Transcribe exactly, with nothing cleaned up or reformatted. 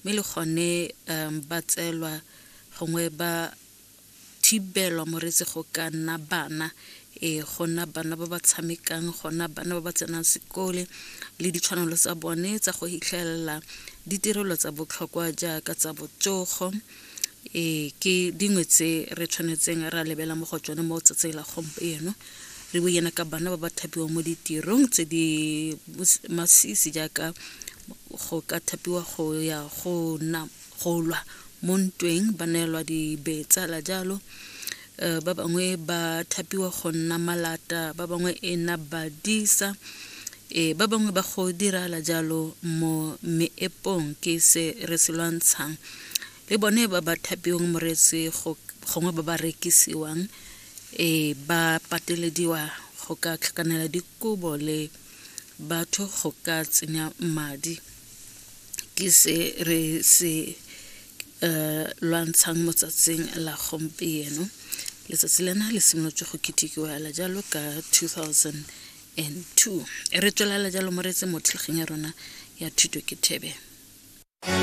Mme le gone um ba tseelwa gongwe ba thibelwa moreetsi go ka nna bana, e go nna bana ba ba tshamekang, go nna bana ba ba tsenang sekole, le ditshwanelo tsa bone tsa go hitlhelela ditirelo tsa botlhokwa jaaka tsa botsogo. E ke dingwe tse re tshwanetseng ra lebela mo go tsone mo tsatsing la gompieno. Re buana ka bana ba ba thapiwang mo ditirong tse di masisi jaaka go ka thapiwa go ya go nna go lwa mo ntweng, ba neelwa dibetsa la jalo. Ba bangwe ba thapiwa go nna malata, ba bangwe e nna badisa, e ba bangwe ba go dirala jalo mo meepong. Ke se re se lwantshang le bone ba ba thapiwang moreetsi, gongwe ba ba rekisiwang, e ba patelediwa go ka tlhakanela dikobo le batho go ka tsenya madi. Ke se re se uh lwantshang mo tsatsing la gompieno. Letsatsi lena le simolotse go ketekiwa la jalo ka two thousand and two. Re tswelela jalo moreetsi mo thulaganyong ya rona ya Thuto ke Thebe.